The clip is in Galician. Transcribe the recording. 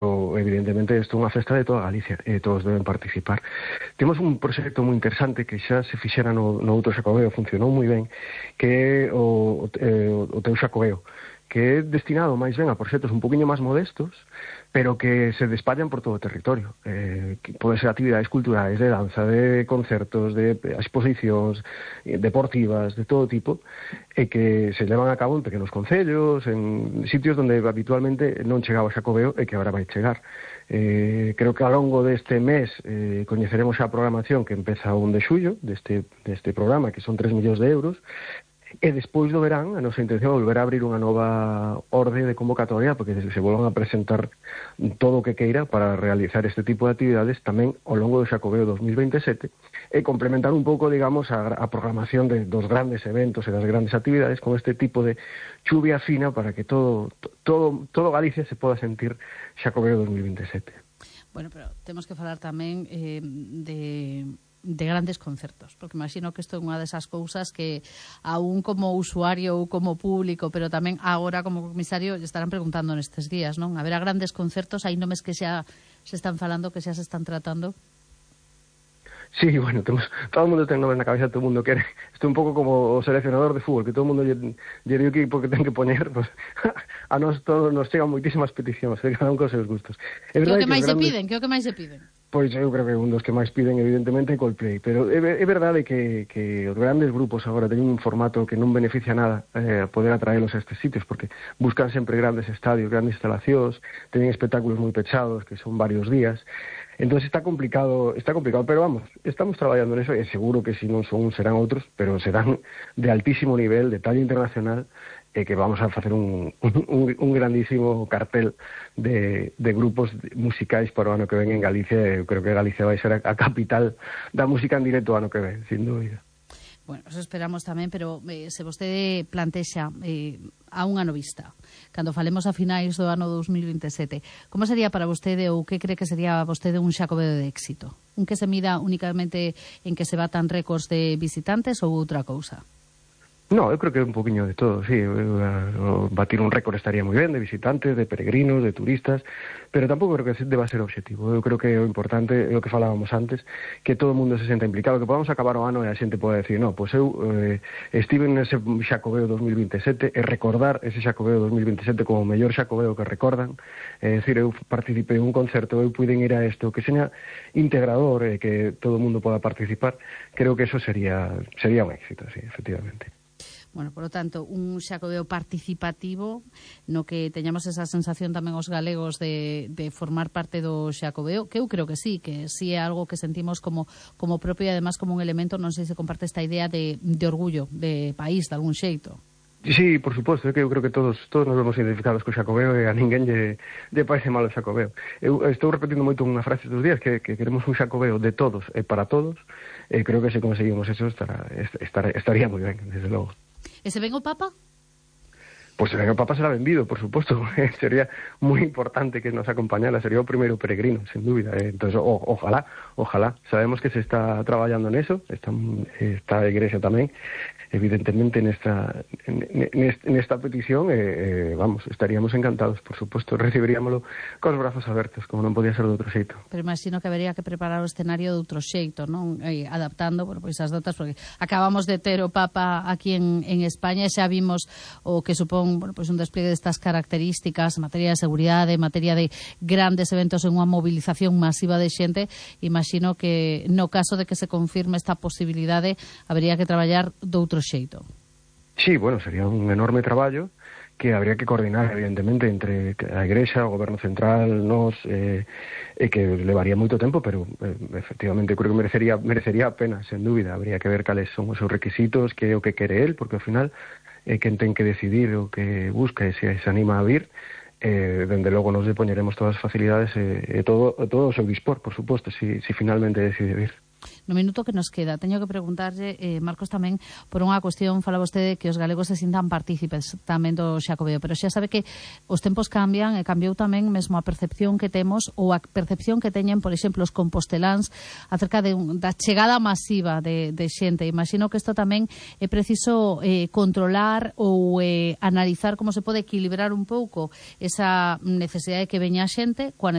evidentemente isto é unha festa de toda Galicia e todos deben participar. Temos un proxecto moi interesante que xa se fixera no outro Xacobeo, funcionou moi ben, que é o teu Xacobeo, que é destinado máis ben a proxectos un poquinho máis modestos, pero que se despallan por todo o territorio. Que pode ser actividades culturais, de danza, de concertos, de exposicións deportivas, de todo tipo, e que se levan a cabo en pequenos concellos, en sitios onde habitualmente non chegaba o Xacobeo e que agora vai chegar. Creo que ao longo deste mes coñeceremos a programación que empeza o 1 de xullo deste programa, que son 3 millóns de euros, e despois do verán a nosa intención é volver a abrir unha nova orde de convocatoria porque se volvan a presentar todo o que queira para realizar este tipo de actividades tamén ao longo do Xacobeo 2027 e complementar un pouco, digamos, a programación dos grandes eventos e das grandes actividades con este tipo de chuvia fina para que todo Galicia se poda sentir Xacobeo 2027. Bueno, pero temos que falar tamén de grandes concertos, porque imagino que isto é unha desas cousas que aún como usuario ou como público, pero tamén agora como comisario estarán preguntando nestes días, non? Haberá grandes concertos, hai nomes que xa se están falando, que xa se están tratando. Sí, bueno, todo o mundo ten nomes na cabeza, todo o mundo quere. Isto é un pouco como o seleccionador de fútbol, que todo o mundo lle di o equipo que ten que poñer, pues, a nós todos nos chegan moitísimas peticións, cada un cos seus gustos. Que o que máis se piden? Que o que máis se piden? Pois eu creo que un dos que máis piden evidentemente é Coldplay, pero é verdade que os grandes grupos agora teñen un formato que non beneficia nada poder atraelos a estes sitios, porque buscan sempre grandes estadios, grandes instalacións, teñen espectáculos moi pechados, que son varios días. Entonces está complicado, pero vamos, estamos traballando en eso e seguro que si non son serán outros, pero serán de altísimo nivel, de talla internacional, e que vamos a facer un grandísimo cartel de grupos musicais para o ano que ven en Galicia. Eu creo que Galicia vai ser a capital da música en directo o ano que ven, sin dúbida. Bueno, eso esperamos tamén, pero se vostede plantexa a un ano vista, cando falemos a finais do ano 2027, como sería para vostede ou que cree que sería vostede un Xacobeo de éxito? Un que se mida únicamente en que se batan récords de visitantes ou outra cousa? No, eu creo que é un poquinho de todo, sí. Batir un récord estaría moi ben, de visitantes, de peregrinos, de turistas, pero tampouco creo que deba ser o obxectivo. Eu creo que o importante é o que falábamos antes, que todo o mundo se senta implicado, que podamos acabar o ano e a xente poda decir, no, pois eu estive nese Xacobeo 2027 e recordar ese Xacobeo 2027 como o mellor Xacobeo que recordan, é dicir, eu participei en un concerto, eu puiden ir a isto, que seña integrador e que todo o mundo poda participar. Creo que eso sería un éxito, sí, efectivamente. Bueno, por lo tanto, un Xacobeo participativo no que teñamos esa sensación tamén os galegos de formar parte do Xacobeo, que eu creo que sí é algo que sentimos como propio e además como un elemento, non sei se comparte esta idea de orgullo, de país, de algún xeito. Sí, por suposto, é que eu creo que todos nos vemos identificados co Xacobeo e a ninguén lle parece mal o Xacobeo. Eu estou repetindo moito unha frase estes días que queremos un Xacobeo de todos e para todos, e creo que se conseguimos eso estaría moi ben, desde logo. E se ven o Papa? Pois se ven o Papa será benvido, por suposto. Sería moi importante que nos acompañara, sería o primeiro peregrino, sen dúbida. Entonces, ojalá. Sabemos que se está traballando neso, está a Igrexa tamén, evidentemente nesta petición, vamos, estaríamos encantados, por suposto, recibiríamoslo cos brazos abertos, como non podía ser de outro xeito. Pero imagino que habería que preparar o escenario de outro xeito, non? Adaptando, bueno, pois as datas, porque acabamos de ter o Papa aquí en España e xa vimos o que supón, bueno, pois un despliegue destas características en materia de seguridade, en materia de grandes eventos en unha movilización masiva de xente. Imagino que no caso de que se confirme esta posibilidade habería que traballar de outro xeito. Sí, bueno, sería un enorme traballo que habría que coordinar, evidentemente, entre a Igrexa, o Goberno Central, nós, e que levaría moito tempo, pero efectivamente creo que merecería a pena, sen dúbida. Habría que ver cales son os seus requisitos, que é o que quere el, porque ao final é quen ten que decidir o que busca e se anima a vir. Dende logo nos poñeremos todas as facilidades e todo o seu dispor, por suposto, si finalmente decide vir. No minuto que nos queda, teño que preguntarlle, Marcos, tamén por unha cuestión, fala vostede que os galegos se sintan partícipes tamén do Xacobeo, pero xa sabe que os tempos cambian e cambiou tamén mesmo a percepción que temos ou a percepción que teñen, por exemplo, os composteláns acerca da chegada masiva de xente. Imagino que isto tamén é preciso controlar ou analizar como se pode equilibrar un pouco esa necesidade de que veña a xente coa